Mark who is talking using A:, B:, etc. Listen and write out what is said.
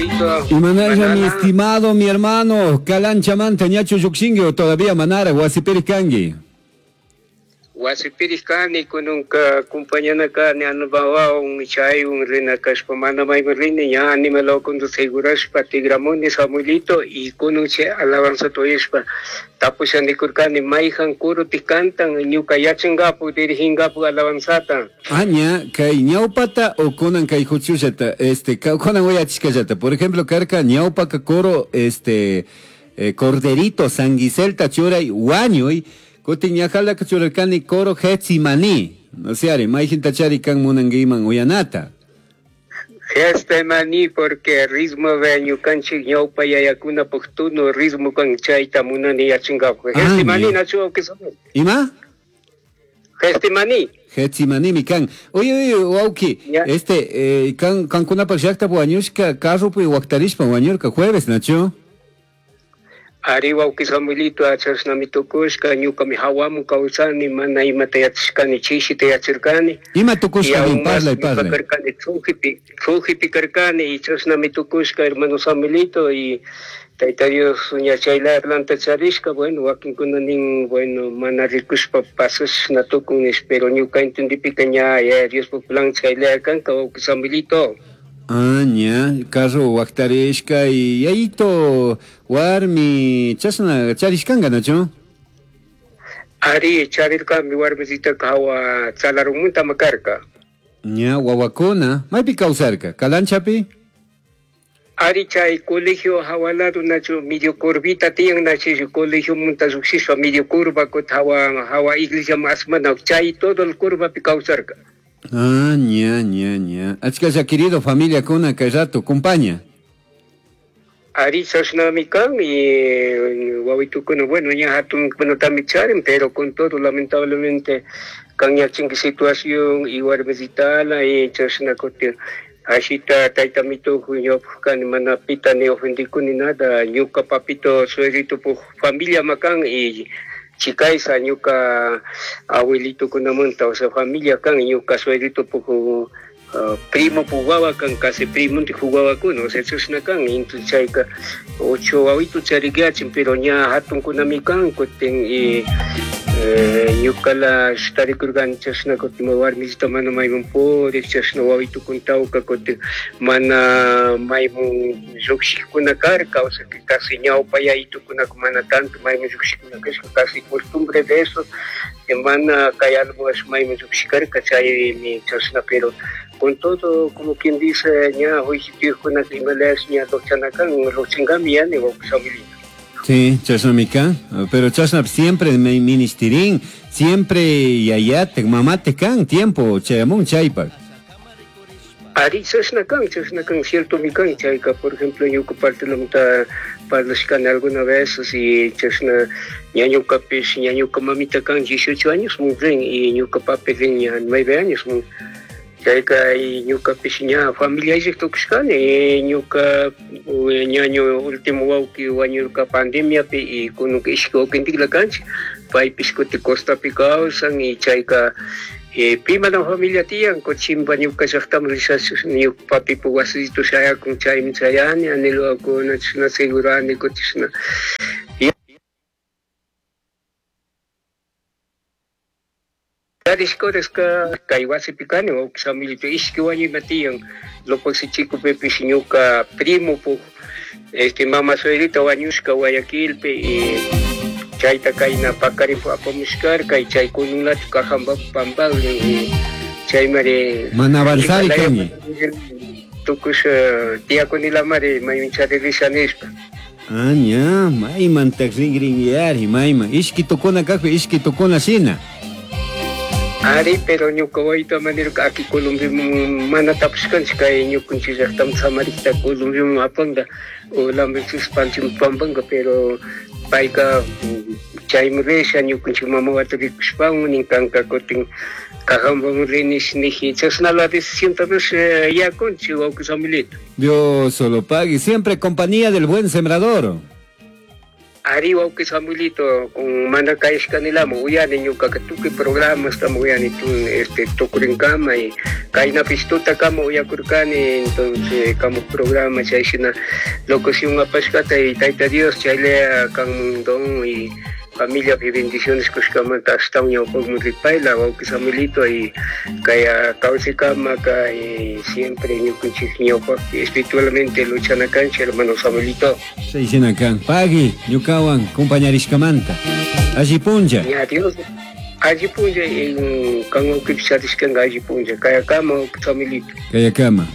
A: Samuelito.
B: Imanalla, mi estimado, mi hermano, Calanchamanta, ñachu llukshinki o todavía manara, wasipiri kanki?
A: Wasipiri kani, kununka compañana kani, anubawawan, chaywan rina kashpa, mana mayman rini, ña animalwakunta segurashpa tigramuni Samuelito, y kunun chay alabanzata uyashpa tapusha nikurkani, mayjan kuruti cantan, ñuka yachankapu, diriginkapu alabanzata.
B: Ah, ña, kay ñawpata o kunan kay huchullata, kunan uyachishkallata, por ejemplo, karka ñawpaka coro, Corderito, San Giselta churay, wañuy, kutin ñajalaka churarkani coro Getsimani, no sé, ari, mayjinta chari kan munanguiman uyanata.
A: Getsimani, porque ritmo de ñukanchik ñawpa yayakuna puktuno, ritmo kan chayta munani yachinkapu.
B: Ah,
A: Getsimani,
B: ya.
A: Nacho, ¿qué son?
B: ¿Ima?
A: Getsimani.
B: Getsimani mi kan. Oye, oye, wauki,
A: Ya.
B: kan, kankunapak llakta wañushka, carropi waktarishpa wañurka jueves, Nacho.
A: Ari wauki Samuelito, achashnami tukushka, ñukami hawamu kawsani, mana imata yachashkani, chishita yachirkani.
B: Ima tukushka,
A: Y aún
B: bien,
A: más
B: parlay,
A: ñuka
B: parlay.
A: karkani, tsujipi karkani, y chashnami tukushka, hermano Samuelito, y Tayta Dios ña chayla atlanta charishka, bueno, wakinkuna nin, bueno, mana rikushpa pasashna tukun nish, pero ñuka entendipika ña, ya, Dios plan chayla kanka, wauki Samuelito.
B: Ah, ña, carro waktarishka y yayito warmi chashna charishkanga, Nacho?
A: Ari, charirkami warmisita hawa chalarumunta makarka.
B: Ña, wawakuna, maypi kawsarka, Kalanchapi?
A: Ari, chay colegio hawalado, Nacho, medio curvita tiyan, Nacho, colegio munta lluqshishpa, medio curva, kut hawa, hawa iglesia más mana, chay todo el curva pi kawsarka.
B: Ah, ña, ña, ña. Achka ya querido familia kuna kay rato, compaña.
A: Ari, chashnami kan, y wawitukuna, bueno, ña hatun, bueno, también charin, pero con todo, lamentablemente, kan ña chinki situación, y warmisitala, y chashna kutin. Ashita, tayta mituju, ñuka kan, mana pita ni ofendiku ni nada, ñuka papito, suegrito, pu, familia makan, y chikaysa, ñuka abuelito kunamanta, o sea, familia kan, ñuka suegrito, pu, primo jugaba kan, casi primo te jugaba con, o sea, chashna kan, entonces chayka, 8 wawitu charikyachin, pero ña hatun kunami kan, kutin, y ñuka la shtarikurgan chashna kutin, warmisita mana maymun purik, chashna wawitu kuntawka kutin, mana maymun lluqshikuna karka, o sea, que casi ñawpa yaytukuna mana tanto maymun lluqshikuna kashka, casi costumbre de eso, que mana kay algo es maymun lluqshikarka, chaymi chashna, pero con todo, como quien dice, ña, hoy si te dijo una criminalidad, ña, lo chanacan, lo chingami, ya, ni vamos a vivir.
B: Sí, chashnamika, pero chashna siempre me ministirín, siempre yayate, mamate kan, tiempo, chayamun, chaypak.
A: Ari, chashnakan, chashnakan, cierto mi kan, chayka, por ejemplo, ñuka parte la mitad, parlashkan alguna vez, así, chashna, ñañuka pis, ñañuka mamita kan, 18 años, muy bien, y ñuka papi rin, ña, 9 años, muy. Chayka, y ñuka pis, ña, familia isik tukushkani, y ñuka, ñaño, último wawki, wañurka pandemia pi, y kununka ishki wawkintikla kanchik, paypis kuti costapi kawsan, y chayka, pi mana familia tiyan, kuchimba ñuka llaqtaman rishash, ñuka papipu wasito shayakun, chaymi chayani, anilwakuna, chishna segurani, kuchishna. Tarishkoreska kay wasipi kani, wawqi Samuelito, ishki wañuyma tiyan, Lopoxi chico pepis ñuka primo pu, mama suegrita wañushka Guayaquilpi, y chayta kayna pakarin apamushkarka, y chay kununlatu kajamba pampagrin, y chaymari
B: Mana avanzar y kani.
A: Tukush, tiyakunila mari, mayun charirisha nishpa.
B: Ah, ña, mayman takringrin yari, mayman. Ishki tukuna kajpi, ishki tukuna shina.
A: Ari, pero ñuka wayta manirka aki Colombia mana tapushkanchik kay ñukanchik llaqtam samarikta Colombia apanga, o lambenchis panchim pampanga, pero payka chaymi risha ñukanchik mama wata rikushpan nin kanka kutin kajamban rinish niji, chashna la decisión tal vez, yakunchik wawqi Samuelito.
B: Dios solo pague, siempre compañía del buen sembrador.
A: Ari wawqi Samuelito, con mana kayashkanilama uyani ñukaqa tukuy programastama uyani tun este tukurinkama y kaynapish tutakama uyakurkani entonces kamu programa chayshina locución apashkata y Tayta Dios chaylla kanmun don y familiapi bendiciones kushkamanta ashtawan ñawpakman ripayla wawqi Samuelito y kay kawsaykama kay siempre ñukanchik ñawpakpi espiritualmente luchana kanchik hermano Samuelito.
B: Chayshina kan. Pagui ñukawan compañarishkamanta. Alli punlla.
A: Ya Dios alli punlla kan wawqipish charishkanka alli punlla kayakama wawqi Samuelito.
B: Kayakama.